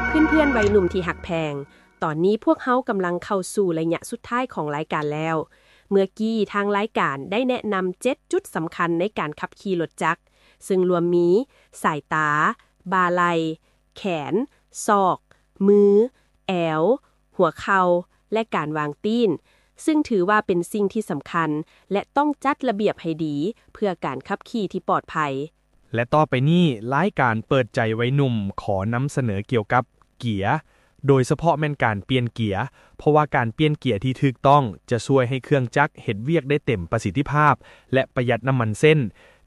ເພື່ອນໆໄວໜຸ່ມທີ່ຮັກແພງ, ຕອນນີ້ພວກເຮົາກຳລັງເຂົ້າສູ່ໄລຍະສຸດທ້າຍຂອງລາຍການແລ້ວ. ເມື່ອກີ້ທາງລາຍການໄດ້ແນະນຳເຈັດຈຸດສຳຄັນໃນການຂັບຂີ່ລົດຈັກ, ເຊິ່ງລວມມີ ສາຍຕາ, ບ່າໄຫຼ່, ແຂນ, ສອກ, ມື, ແອວ, ຫົວເຂົ່າ ແລະ ການວາງຕີນ, ຊຶ່ງຖືວ່າເປັນສິ່ງທີ່ສຳຄັນ ແລະ ຕ້ອງຈັດລະບຽບໃຫ້ດີ ເພື່ອການຂັບຂີ່ທີ່ປອດໄພ. ແລະ ຕໍ່ໄປນີ້, ລາຍການເປີດໃຈໄວໜຸ່ມຂໍນຳສະເໜີກ່ຽວກັບເກຍ, ໂດຍສະເພາະແມ່ນການປ່ຽນເກຍ, ເພາະວ່າການປ່ຽນເກຍທີ່ຖືກຕ້ອງຈະຊ່ວຍໃຫ້ເຄື່ອງຈັກເຮັດວຽກໄດ້ເຕັມປະສິດທິພາບ ແລະ ປະຢັດນ້ຳມັນເຊັ່ນ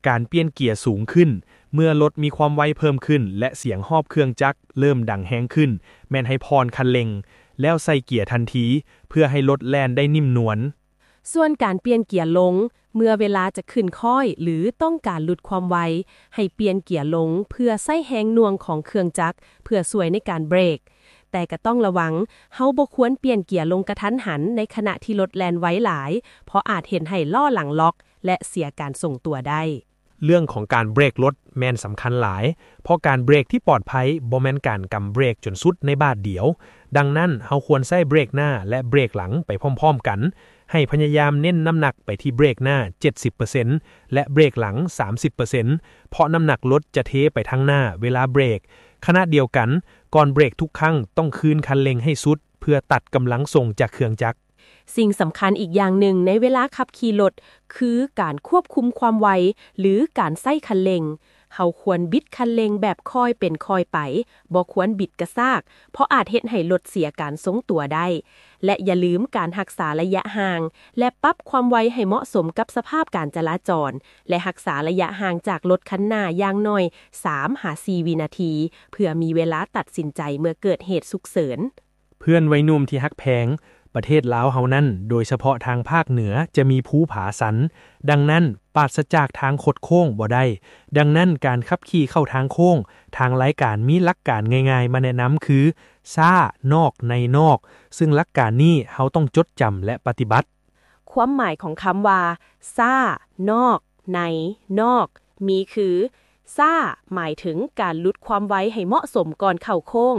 ການປ່ຽນເກຍສູງຂຶ້ນ, ເມື່ອລົດມີຄວາມໄວເພີ່ມຂຶ້ນ ແລະ ສຽງຮອບເຄື່ອງຈັກເລີ່ມດັງແຮງຂຶ້ນ, ແມ່ນໃຫ້ຜ່ອນຄັນເລັ່ງ ແລ້ວໃສ່ເກຍທັນທີ ເພື່ອໃຫ້ລົດແລ່ນໄດ້ນິ້ມນວນ. ສ່ວນການປ່ຽນເກຍລົງ ເມື່ອເວລາຈະຂຶ້ນຄ້ອຍ ຫຼື ຕ້ອງການຫຼຸດຄວາມໄວ, ໃຫ້ປ່ຽນເກຍລົງເພື່ອໃຊ້ແຮງໜ່ວງຂອງເຄື່ອງຈັກ ເພື່ອຊ່ວຍໃນການເບຣກ. ແຕ່ກໍຕ້ອງລະວັງ, ເຮົາບໍ່ຄວນປ່ຽນເກຍລົງກະທັນຫັນໃນຂະນະທີ່ລົດແລ່ນໄວຫຼາຍ, ເພາະອາດເຮັດໃຫ້ລໍ້ຫຼັງລັອກ ແລະ ເສຍການຊົງຕົວໄດ້. ເລື່ອງຂອງການເບຣກລົດແມ່ນສຳຄັນຫຼາຍ, ເພາະການເບຣກທີ່ປອດໄພບໍ່ແມ່ນການກຳເບຣກຈົນສຸດໃນບາດດຽວ. ດັ່ງນັ້ນ, ເຮົາຄວນໃຊ້ເບຣກໜ້າ ແລະ ເບຣກຫຼັງໄປພ້ອມໆກັນ. ໃຫ້ພະຍາຍາມເນັ້ນນ້ຳໜັກໄປທີ່ເບຣກໜ້າເຈັດສິບເປີເຊັນ ແລະ ເບຣກຫຼັງສາມສິບເປີເຊັນ ເພາະນ້ຳໜັກລົດຈະເທໄປທາງໜ້າເວລາເບຣກ. ຂະນະດຽວກັນ, ກ່ອນເບຣກທຸກຄັ້ງຕ້ອງຄືນຄັນເລັ່ງໃຫ້ສຸດ ເພື່ອຕັດກຳລັງສົ່ງຈາກເຄື່ອງຈັກ. ສິ່ງສຳຄັນອີກຢ່າງໜຶ່ງໃນເວລາຂັບຂີ່ລົດ ຄືການຄວບຄຸມຄວາມໄວ ຫຼື ການໃຊ້ຄັນເລັ່ງ. ເຮົາຄວນບິດຄັນເລັ່ງແບບຄ່ອຍເປັນຄ່ອຍໄປ, ບໍ່ຄວນບິດກະຊາກ, ເພາະອາດເຮັດໃຫ້ລົດເສຍການຊົງຕົວໄດ້. ແລະ ຢ່າລືມການຮັກສາໄລຍະຫ່າງ ແລະ ປັບຄວາມໄວໃຫ້ເໝາະສົມກັບສະພາບການຈະລາຈອນ ແລະ ຮັກສາໄລຍະຫ່າງຈາກລົດຄັນໜ້າຢ່າງໜ້ອຍສາມຫາສີ່ວິນາທີ ເພື່ອມີເວລາຕັດສິນໃຈເມື່ອເກີດເຫດສຸກເສີນ. ເພື່ອນໄວໜຸ່ມທີ່ຮັກແພງ, ປະເທດລາວເຮົານັ້ນ, ໂດຍສະເພາະທາງພາກເໜືອ, ຈະມີພູຜາຊັນ, ດັ່ງນັ້ນ, ປາສະຈາກທາງຄົດໂຄ້ງບໍ່ໄດ້. ດັ່ງນັ້ນ, ການຂັບຂີ່ເຂົ້າທາງໂຄ້ງ, ທາງລາຍການມີຫຼັກການງ່າຍໆມາແນະນຳຄື ຊ້ານອກໃນນອກ, ຊຶ່ງຫຼັກການນີ້ເຮົາຕ້ອງຈົດຈຳ ແລະ ປະຕິບັດ. ຄວາມໝາຍຂອງຄຳວ່າ ຊ້າ ນອກ ໃນ ນອກ ມີຄື ຊ້າ ໝາຍເຖິງການຫຼຸດຄວາມໄວໃຫ້ເໝາະສົມກ່ອນເຂົ້າໂຄ້ງ.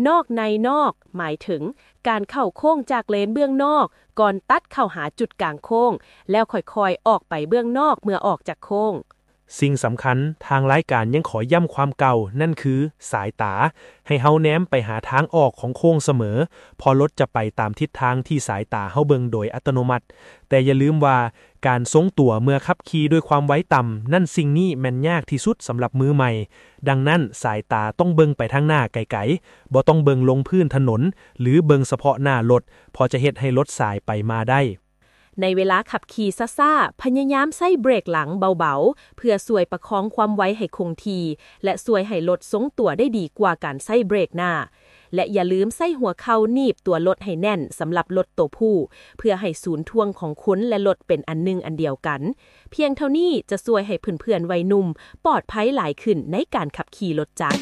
ນອກ ໃນ ນອກ ໝາຍເຖິງການເຂົ້າໂຄ້ງຈາກເລນເບື້ອງນອກ ກ່ອນຕັດເຂົ້າຫາຈຸດກາງໂຄ້ງ ແລ້ວຄ່ອຍໆອອກໄປເບື້ອງນອກເມື່ອອອກຈາກໂຄ້ງ. ສິ່ງສຳຄັນ, ທາງລາຍການຍັງຂໍຢ້ຳຄວາມເກົ່າ, ນັ້ນຄື ສາຍຕາ, ໃຫ້ເຮົາແນມໄປຫາທາງອອກຂອງໂຄ້ງສະເໝີ, ເພາະລົດຈະໄປຕາມທິດທາງທີ່ສາຍຕາເຮົາເບິ່ງໂດຍອັດຕະໂນມັດ. ແຕ່ຢ່າລືມວ່າ, ການຊົງຕົວເມື່ອຂັບຂີ່ດ້ວຍຄວາມໄວຕ່ຳ, ນັ້ນສິ່ງນີ້ແມ່ນຍາກທີ່ສຸດສຳລັບມືໃໝ່. ດັ່ງນັ້ນ, ສາຍຕາຕ້ອງເບິ່ງໄປທາງໜ້າໄກໆ, ບໍ່ຕ້ອງເບິ່ງລົງພື້ນຖະໜົນ ຫຼື ເບິ່ງສະເພາະໜ້າລົດ, ເພາະຈະເຮັດໃຫ້ລົດສາຍໄປມາໄດ້. ໃນເວລາຂັບຂີ່ຊ້າໆ, ພະຍາຍາມໃຊ້ເບຣກຫຼັງເບົາໆ ເພື່ອຊ່ວຍປະຄອງຄວາມໄວໃຫ້ຄົງທີ່ ແລະ ຊ່ວຍໃຫ້ລົດຊົງຕົວໄດ້ດີກວ່າການໃຊ້ເບຣກໜ້າ. ແລະ ຢ່າລືມໃຊ້ຫົວເຂົ່າໜີບຕົວລົດໃຫ້ແໜ້ນສຳລັບລົດໂຕຜູ້, ເພື່ອໃຫ້ສູນຖ່ວງຂອງຄົນ ແລະ ລົດເປັນອັນໜຶ່ງອັນດຽວກັນ. ພຽງເທົ່ານີ້ຈະຊ່ວຍໃຫ້ເພື່ອນໆໄວໜຸ່ມປອດໄພຫຼາຍຂຶ້ນໃນການຂັບຂີ່ລົດຈັກ.